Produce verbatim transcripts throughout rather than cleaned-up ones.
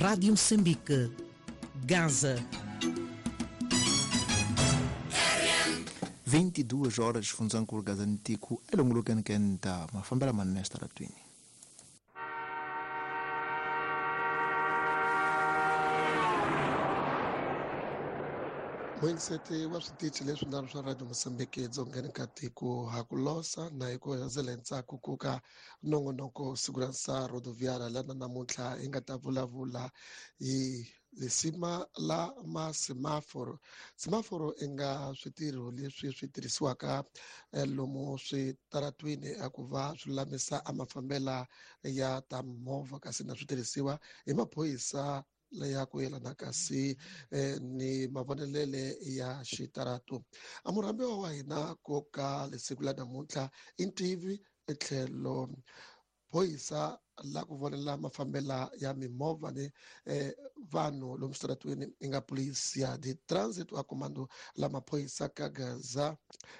Rádio Moçambique, Gaza. vinte e duas horas funzankulu gazantiku elongolokeni kenta mafambela manene estaratwini. Muyingiseti wa switichi leswinharhu swa Radio Mozambique edzongeni ka tiko ha ku losa na hi ku hundzela ntsako ku ka nongonoko Segurança Rodoviária lana namuntlha hi nga ta vulavula hi lisima la ma semaforo. Semaforo i nga switirho leswi swi tirhisiwaka lomu switaratwini a ku va swi lulamisa a mafambela ya ta movha kasi na switirhisiwa hi maphorisa leya ku yelana kasi eh, ni mavonelele ya xitarato. A murhambiwa wa hina ko ka lesiku la namuntlha i ntivi etlhelo phorisa la ku vonela mafambela ya mimovha ni eh, vanhu lomu switaratweni i nga Polícia de Trânsito a comando la maphorisa ka Gaza,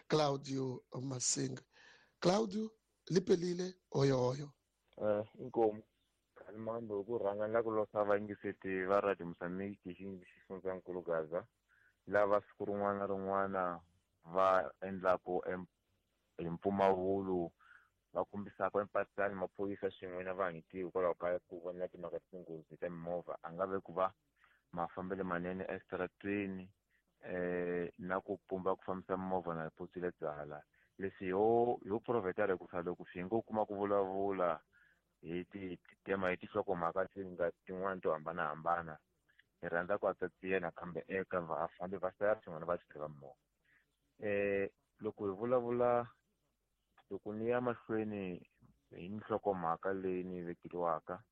Claudio Masinga. Claudio lipelile oyo oyo. Eh, inkomu Mambo ku rhanga la ku losa vayingiseti va Radio Mozambique xifundzankulu Gaza lava siku rin'wana na rin'wana va endlaku hi mpfumawulo va kombisaka empatani maphorisa swin'we na vanhu tiko hikwalaho ka ku vona timhaka ta tinghozi ta mimovha a nga ve ku va mafambelo manene esitaratweni eh na ku pumba ku fambisa mimovha na potsile byala leswi ho ho provhetara ku sa loko swi ngo kuma ku vulavula hi ti tema hi tinhlokomhaka ti nga tin'wani to hambanahambana hi rhandza ku atsatsiya nakambe eka vafambi va sala swin'wana va chayeri va mimovha. Eh loko hi vulavula loko ni ya mahlweni hi nhlokomhaka leyi ni vekeriwaka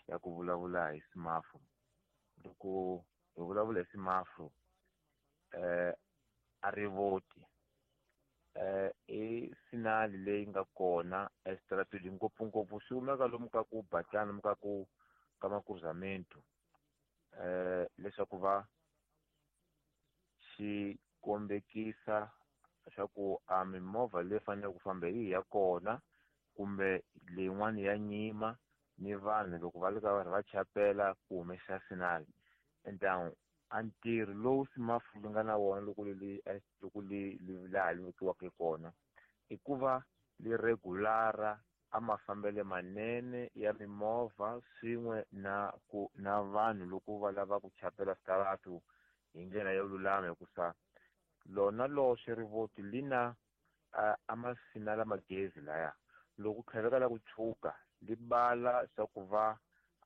ya ku vulavula hi semaforo, loko hi vulavula hi semaforo eh a rivoti eh i sinali leyi nga kona esitaratweni ngopfungopfu swi humeka lomu ka ku batlana lomu ka ku ka makruzamento eh leswaku va xi kombekisa leswaku a mimovha leyi faneleke ku famba hi ya kona kumbe leyin'wana ya nyima ni vanhu loko va le ka vanhu va chapela ku humesa sinali. Enta a ntirho lowu semaforo li nga na wona loko li loko li laha li vekiwaka kona i ku va li regulara a mafambelo manene ya mimovha swin'we na ku na vanhu loko va lava ku chapela switaratu hi ndlela yo lulama hikusa lona loxe rivoti li na a masinala magezi laya loko tlhaveka la ku tshuka li bala swa ku va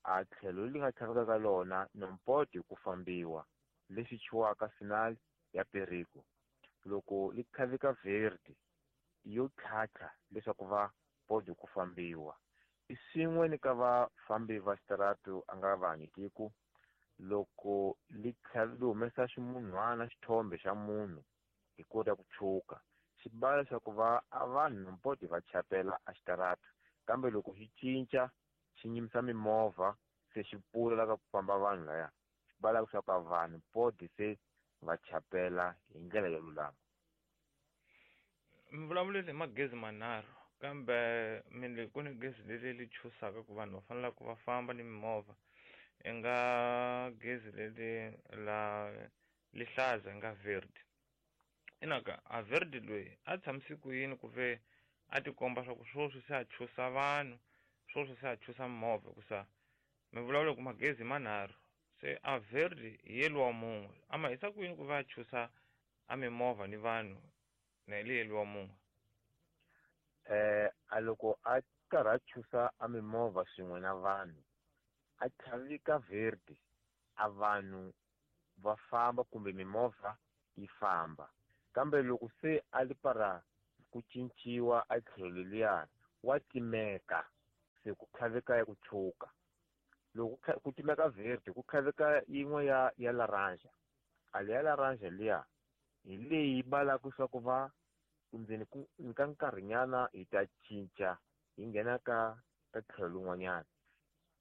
a tlhelo li nga tlhaveka ka lona nompoti ku fambiwa lexi chiwaka sinal ya perigo loko li tlhaveka verde yo tlhatlha leswaku va podi ku fambiwa. I swin'we ni ka vafambi va xitarato a nga vanhi tiko loko li li humesa ximunhwana xithombe xa munhu hi kota ku tshuka xi bala leswaku va a vanhu nompoti va chapela a xitarato kambe loko xi cinca xi nyimisa mimovha se xi pfula la ka ku famba vanhu laya xi bala leswaku a vanhu podi se va chapela hi ndlela yo lulama. Mi vulavulile hi magezi manharhu kambe mi le ku ni gezi leri li chusaka ku vanhu va fanele ku va famba ni mimovha i nga gezi leri la lihlaza nga verde inaka a verde loyi a tshamisi ku yini ku ve a tikomba swa ku swoswi se a chusa vanhu swoswi se a chusa mimovha hikusa mi vulavula ku magezi manharhu se a verde hi yeliwa mun'we a ma hisa ku yini ku va a chusa a mimovha ni vanhu na hi yeliwa mun'we? Eh a loko a karhi a chusa a mimovha swin'we na vanhu a tlhavika verde a vanhu va famba kumbe mimovha yi famba kambe loko se a li para ku cinciwa a tlhelo leriya wa timeka se ku tlhaveka ya ku tshuka loko ku timeka verde ku tlhaveka yin'we ya ya laranja a leya laranja liya hi leyi balaka swa ku va ndzeni ku ka nkarhinyana hi ta cinca hi nghena ka ka tlhelo lin'wanyana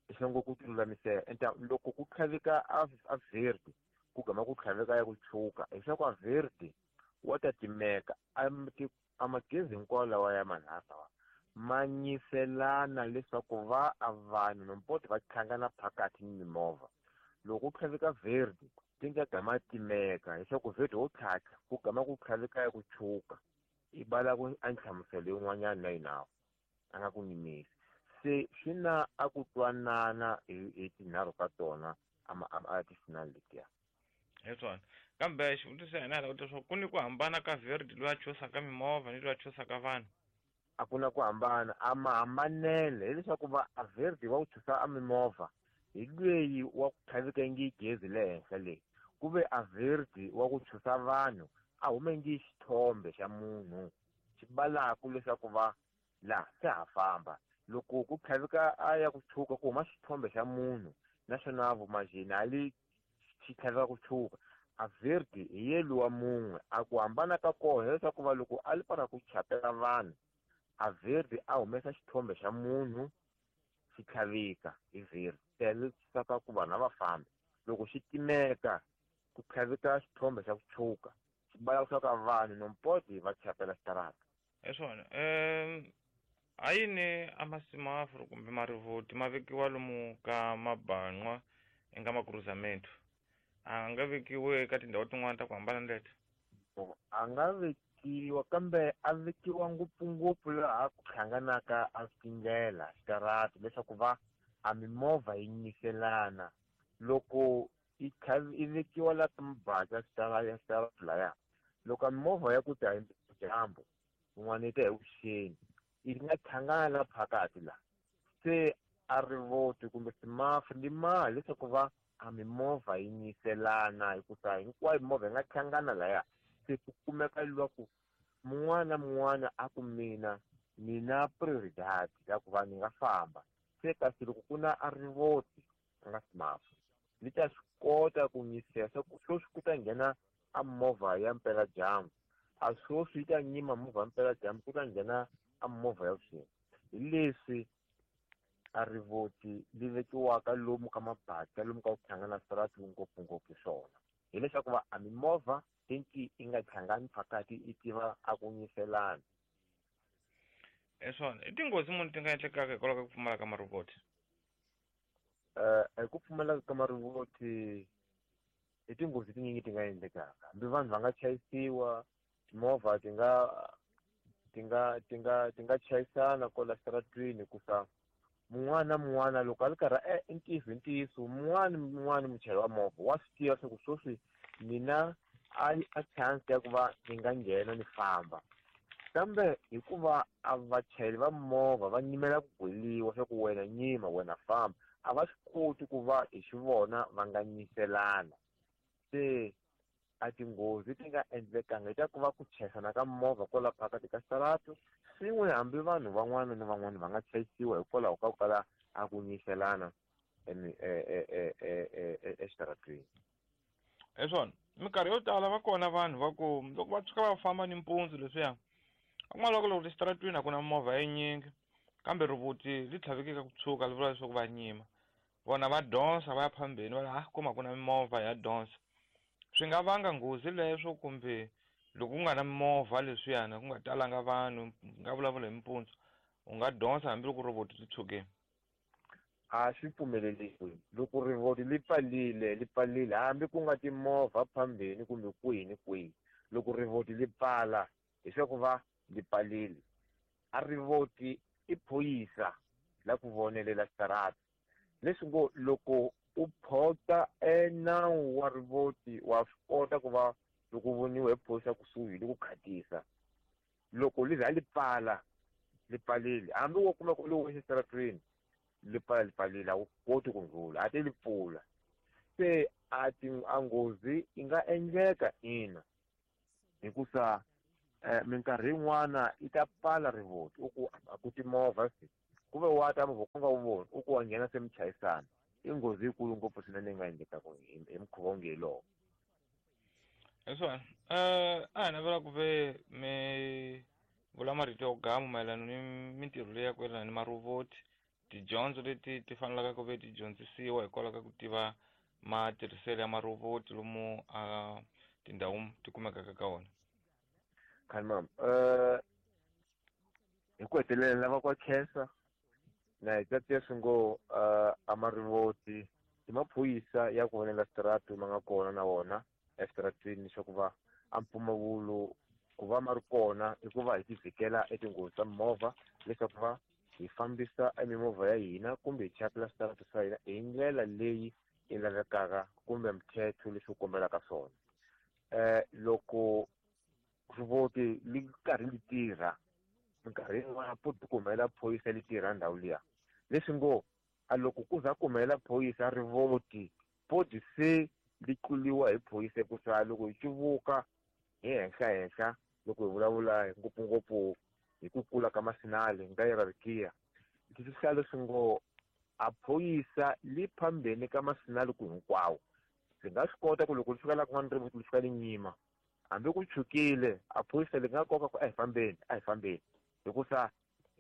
leswaku ku tilulamisela. Enta loko ku tlhaveka a a verde ku gama ku tlhaveka ya ku tshuka leswaku a verde wa ta timeka a a magezi hinkwawo lawa ya manharhu lawa ma nyiselana leswaku va a vanhu nompoti va tlhangana phakathi ni mimovha. Loko ku tlhaveka verde ti nga gama timeka leswaku verde wo tlhatlha ku gama ku tlhaveka ya ku tshuka i bala ku a nhlamuselo yin'wanyana na yinawo a nga ku nyimisi. Se swi na a ku twanana hi hi tinharhu ka tona a ti-signal letiya. Hi swona. Kambe xivutiso xa hina hi leswaku ku ni ku hambana ka verde loyi a chusaka mimovha ni loyi a chusaka vanhu. A ku na ku hambana, a mahambanele hileswaku va a verde wa ku chusa a mimovha hi lweyi wa ku tlhaveka ngi gezi le henhla leyi, ku ve a verde wa ku chusa vanhu a hume ngi xithombe xa munhu xi balaku leswaku va la se ha famba. Loko ku tlhaveka a ya ku tshuka ku huma xithombe xa munhu naswona vumajini a li xi tlhaveka ku tshuka. A verde hi ye luwa mun'we. A ku hambana ka kona hileswaku va loko a li para ku chapela vanhu a verde a humesa xithombe xa munhu xi tlhaveka hi verde tele saka ku vanhu a va fambi. Loko xi timeka ku tlhaveka xithombe xa ku tshuka xi bala leswaku vanhu nompoti va chapela xitarata. Hi swona. Um ha yini a masimaforo kumbe marivoti ma vekiwa lomu ka maban'wa eka makruzamento? A nga vekiwi eka tindhawu tin'wana ta ku hambana ni leti? A nga vekiwa, kambe a vekiwa ngopfungopfu laha ku hlanganaka a tindlela xitarata leswaku va a mimovha yi nyiselana. Loko yi i vekiwa laha ka mabasa xitarata xitarata laya, loko a mimovha ya ku ta hi dyambu yin'wana yi ta hi vuxeni yi nga hlangana la phakathi la, se a rivoti kumbe simafu ndi mali leswaku va a mimovha yi nyiselana hikusa hinkwayo mimovha yi nga hlangana laya. Se ku kumeka lwaku mun'wana na mun'wana a ku mina ni na prioridad ya ku va ni nga famba. Se kasi loko ku na a rivoti a nga simafu li ta swi kota ku nyisela swa ku sweswi ku ta nghena a movha ya mpela dyambu, a sweswi yi ta nyima movha ya mpela dyambu ku ta nghena a movha ya vuxeni. Hi leswi a rivoti li vekiwaka lomu ka mabata lomu ka ku hlangana switarati ngopfungopfu swona hileswaku va a mimovha tinki yi nga hlangani phakathi yi tiva a ku nyiselana. Hi swona. I tinghozi muni ti nga endlekaka hikwalaho ka ku pfumala ka marivoti? Eh hi ku pfumala ka marivoti i tinghozi tinyingi ti nga endlekaka. Hambi vanhu va nga chayisiwa, timovha ti nga ti nga ti nga ti nga chayisana kwala xitaratwini hikusa mun'wana na mun'wana loko a ri karhi e ntiyiso hi ntiyiso mun'wana na mun'wana muchayeri wa movha wa swi tiva leswaku sweswi mina a a chance ya ku va ni nga nghena ni famba, kambe hikuva a vachayeri va movha va nyimela ku gweliwa swa ku wena nyima wena famba, a va swi koti ku va hi xivona va nga nyiselana. Se a tinghozi ti nga endlekanga hi ta ku va ku chayisana ka movha kwala phakathi ka xitarata swin'we, hambi vanhu van'wana na van'wana va nga chayisiwa hikwalaho ka ku kala a ku nyiselana exitaratweni. Hi swona. Minkarhi yo tala va kona vanhu va ku loko va tshuka va famba nimpundzu leswiya va kuma loko loko exitaratweni a ku na movha yinyingi kambe rivoti ri tlhaveke ka ku tshuka li vula leswaku va nyima, vona va donsa va ya phambeni va ha kuma ku na mimovha ya donsa. Swi nga vanga nghozi leswo kumbe loko ku nga na mimovha leswiyana ku nga talanga vanhu nga vulavula hi mpundzu u nga donsa hambiloko rivoti ri tshukile? A swi pfumeleriwi. Loko rivoti li pfalile li pfalile hambi ku nga timovha phambeni kumbe kwihi ni kwihi, loko rivoti li pfala leswaku va li pfalile. A rivoti i phorisa la ku vonelela xitarata, leswi ngo loko u phota e nawu wa rivoti wa swi kota ku va loko voniwa hi phorisa kusuhi li ku khatisa. Loko li za li pfala li pfalile, hambi wo kuma ku li wexe xitaratweni li pfala li pfalile a wu koti ku ndlula, a ti li pfula. Se a ti a nghozi yi nga endleka ina, hikusa eh, minkarhi yin'wana yi ta pfala rivoti u ku a ku timovha se ku ve wa ta movha ku nga wu voni u ku wa nghena se mi chayisana. I nghozi yikulu ngopfu swinene yi nga endlekaka hi mukhuva onge hi lowo. Hi swona. Um a hi navela ku ve mi vula marito yo gama mayelana ni mintirho leyi ya ku yelana ni marivoti, tidyondzo leti ti fanelaka ku ve ti dyondzisiwa hikwalaho ka ku tiva matirhiselo ya marivoti lomu a tindhawu ti kumekaka ka wona. Khanimam, eh hi ku hetelela lava ku khensa na hi ta tiya swi ngo a marivoti I maphorisa ya ku vonela switaratu ma nga kona na wona eswitarateni leswaku va a mpfumawulo ku va ma ri kona i ku va hi ti vhikela etinghozi ta mimovha leswaku va hi fambisa emimovha ya hina kumbe hi chapela switaratu swa hina hi ndlela leyi yi lavekaka kumbe mthetho leswi wu kombelaka swona. um loko rivoti li karhi li tirha minkarhi yin'wana po ti kumela phorisa li tirha ndhawu liya, leswi ngo a loko ku za kumela phorisa rivoti poti se li tluliwa hi phorisa hikusa loko hi cuvuka hi henhla henhla loko hi vulavula ngopfungopfu hi ku kula ka masinali nga hierarchy leswi swi leswi ngo a phorisa li phambeni ka masinali ku hinkwawo. Ndzi nga swi kota ku loko li fika la kun'wana rivoti li fika li nyima hambi ku chukile a phorisa li nga koka ku a hi fambeni a hi fambeni hikusa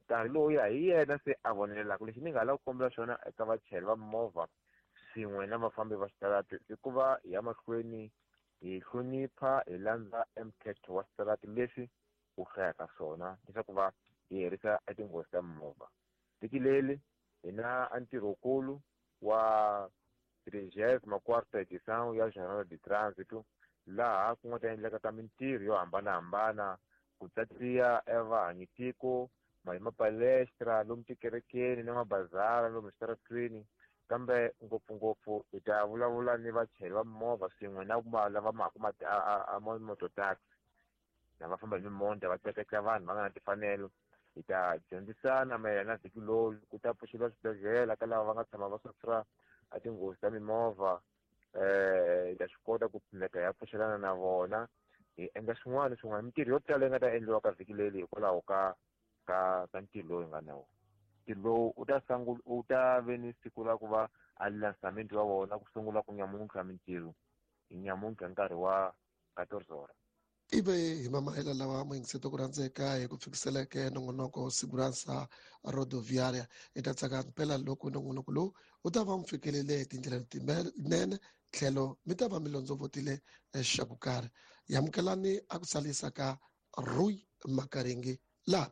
nkarhi lowuya hi yena se a vonelelaka. Lexi ni nga lava ku kombela xona eka vachayeri va mimovha swin'we na vafambi va switarati i ku va hi ya mahlweni hi hlonipha hi landza emthetho wa switarati leswi wu hlayaka swona leswaku va hi herisa etinghozi ta mimovha. Vhiki leri hi na a ntirhokulu wa trigésima quarta edição ya Jornada de Trânsito laha ku nga ta endleka ka mintirho yo hambanahambana ku tsatsiya evahanyitiko hi mapalestra lomu tikerekeni na mabazara lomu switaratwini, kambe ngopfungopfu hi ta vulavula ni vachayeri va mimovha swin'we na lava maku a mototaxi na va famba hi mimonda va tleketla vanhu va nga na timfanelo. Hi ta dyondzisana mayelana na vhiki lowu ku ta pfuxeliwa swibedhlele ka lava va nga tshama va sufra a tinghozi ta mimovha. um hi ta swi kota ku pfuneka hi ya pfuxelana na vona hi endla swin'wana swin'wana mintirho yo tala yi nga ta endliwa ka vhiki leri hikwalaho ka ka ka ntirho lowu hi nga na wona. Ntirho lowu u ta sungula u ta ve ni siku ra ku va a lançamento wa wona ku sungula ku nyamuntlha mintirho hi nyamuntlha nkarhi wa quatorze horas. Ive hi mamahela lawa muyingiseti ku rhandzeka hi ku fikiseleke nongonoko Segurança Rodoviária. Hi ta tsaka mpela loko nongonoko lowu wu ta va mi fikelele hi tindlela letinene tlhelo mi ta va mi londzovotile xa ku karhi. Yamukelani a ku salisa ka Rui Makaringi laha.